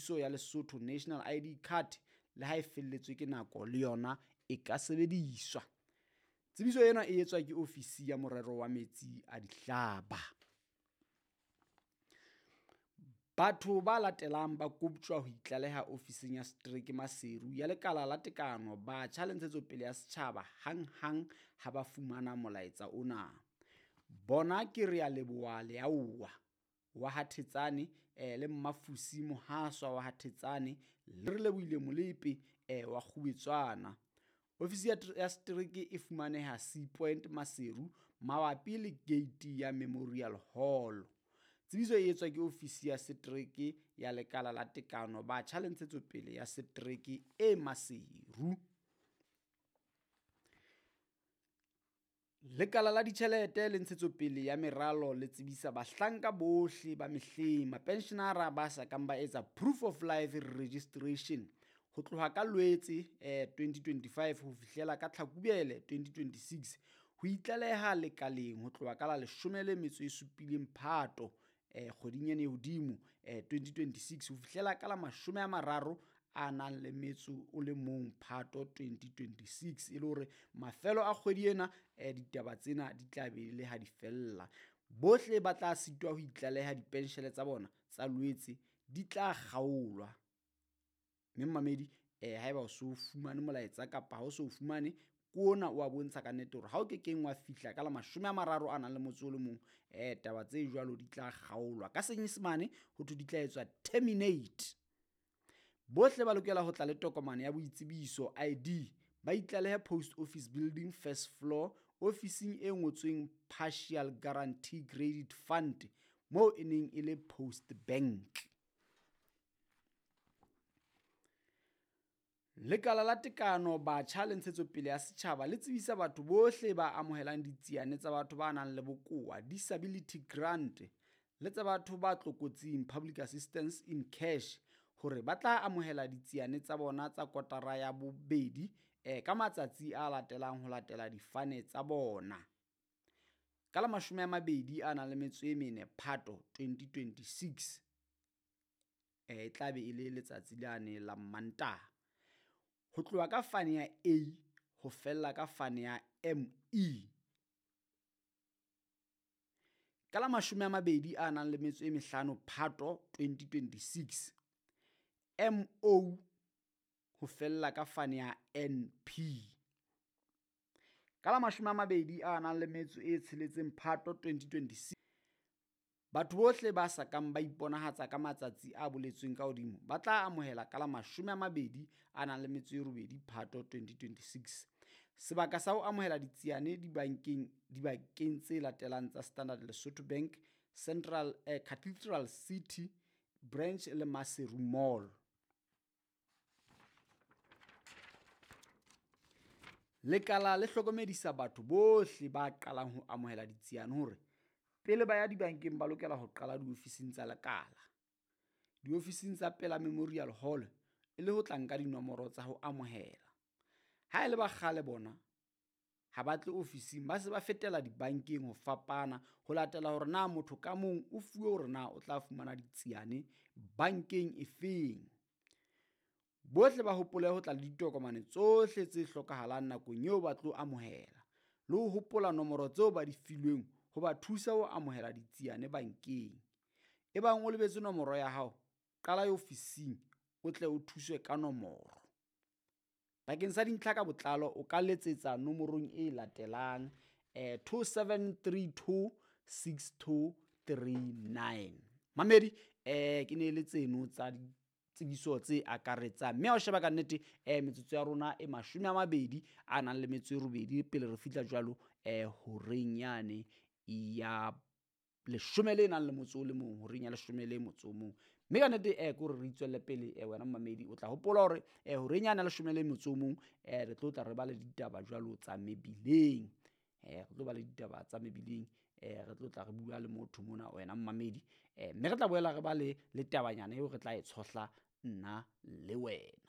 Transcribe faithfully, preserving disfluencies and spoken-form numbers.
boitsebiso ya Lesotho National I D card le ha e felletswe ke nako le yona e ka sebediswa. Tsebiso ena e etswa ke ofisi ya morero wa metsi a dihlaba. Batho ba latelang ba koptjwa ho itlaleha ofising ya setereke Maseru ya Lekala la Tekano, Batjha le Ntshetsopele ya Setjhaba hanghang ha ba fumana molaetsa ona. Bona ke Realeboha Leaoa wa ha Thetsane, eh, le Mmafusi Mohaswa wa ha Thetsane le Relebohile Molepe, eh, wa Kgubetswana. Ofisi ya tr-, ya setereke e fumaneha Sea Point Maseru mabapi le gate ya Memorial Hall. Tsebiso e etswa ke ofisi ya setereke ya Lekala la Tekano, Batjha le Ntshetsopele ya Setereke e Maseru. Lekala la ditjhelete le ntshetsopele ya meralo le tsebisa bahlanka bohle ba mehleng, mapenshenara ba sa kang ba etsa proof of life registration ho tloha ka Loetse, eh, twenty twenty-five ho fihlela ka Tlhakubele twenty twenty-six ho itlaleha lekaleng ho tloha ka la leshome le metso e supileng Phato, eh, kgweding ena e hodimo, eh, twenty twenty-six ho fihlela ka la mashome a mararo a nang le metso o le mong Phato twenty twenty-six, e le hore mafelo a kgwedi ena, eh, ditaba tsena di tla be le ha di fella. Bohle ba tla sitwa ho itlaleha dipenshele tsa bona tsa Loetse di tla kgaolwa. Mme mmamedi, eh, haeba o so fumane molaetsa kapa ha o so fumane, ke ona o a bontsha ka nnete hore ha o ke keng wa fihla ka la mashome a mararo a nang le motso o le mong, eh, taba tse jwalo di tla kgaolwa. Ka Senyesemane ho thwe di tla etswa terminate. Bohle ba lokela ho tla le tokomane ya boitsebiso I D, ba itlalehe Post Office Building first floor, ofising e ngotsweng Partial Guarantee Credit Fund, moo e neng e le Post Bank. Lekala la Tekano, Batjha le Ntshetsopele ya Setjhaba le tsebisa batho bohle ba amohelang ditsiane tsa batho ba nang le bokowa, disability grant, le tsa batho ba tlokotsing, public assistance in cash, hore ba tla amohela ditsiane tsa bona tsa kotara ya bobedi, eh, ka matsatsi a latelang ho latela difane tsa bona. Ka la mashome a mabedi a nang le metso e mene Phato twenty twenty-six, eh, e tla be e le letsatsi lane la Mantaha. Ho tloha ka fane ya A ho fella ka fane ya M E. Ka la mashome a mabedi a nang le metso e mehlano Phato twenty twenty-six, M O ho fella ka fane ya N P. Ka la mashome a mabedi a nang le metso e tsheletseng Phato twenty twenty-six, batho bohle ba sa kang ba iponahatsa ka matsatsi a boletsweng ka hodimo ba tla amohela ka la mashome a mabedi a nang le metso e robedi Phato twenty twenty-six. Sebaka sa ho amohela ditsiane dibankeng, dibakeng tse latelang tsa Standard Lesotho Bank, Central, eh, Cathedral City Branch le Maseru Mall. Lekala le hlokomedisa batho bohle ba qalang ho amohela ditsiane hore pele ba ya dibankeng ba lokela ho qala diofising tsa lekala, diofising tsa pela Memorial Hall, e le ho tla nka dinomoro tsa ho amohela. Ha e le ba kgale bona ha ba tle ofising, ba se ba fetela dibankeng ho fapana ho latela hore na motho ka mong o fuwe hore na o tla fumana ditsiane bankeng efeng. Bohle ba hopole ho tla le ditokomane tsohle tse hlokahalang nakong eo ba tlo amohela, le ho hopola nomoro tseo ba di filweng ho ba thusa ho amohela ditsiane bankeng. Ebang o lebetse nomoro ya hao, qala ya ofising o tle o thuswe ka nomoro. Bakeng sa dintlha ka botlalo o ka letsetsa nomorong e latelang, eh, two seven three two six two three nine. Mamedi, eh, ke ne le tseno tsa ditsebiso tse akaretsang. Mme ha o sheba ka nnete, eh, metsotso ya rona e mashome a mabedi a nang le metso e robedi pele re fihla jwalo, eh, horeng yane ya leshome le nang le motso o le mong, horeng ya leshome le motso o mong. Mme ka nnete, eh, ke hore re itswelle pele, eh, wena mmamedi o tla hopola hore, eh, horeng yane ya leshome le motso o mong, eh, re tlo tla re ba le ditaba jwalo tsa mebileng. Eh, re tlo ba le ditaba tsa mebileng, eh, re tlo tla re bua le motho mona wena mmamedi. Eh, mme re tla boela re ba le, le tabanyana eo re tla e tshohla nna le wena.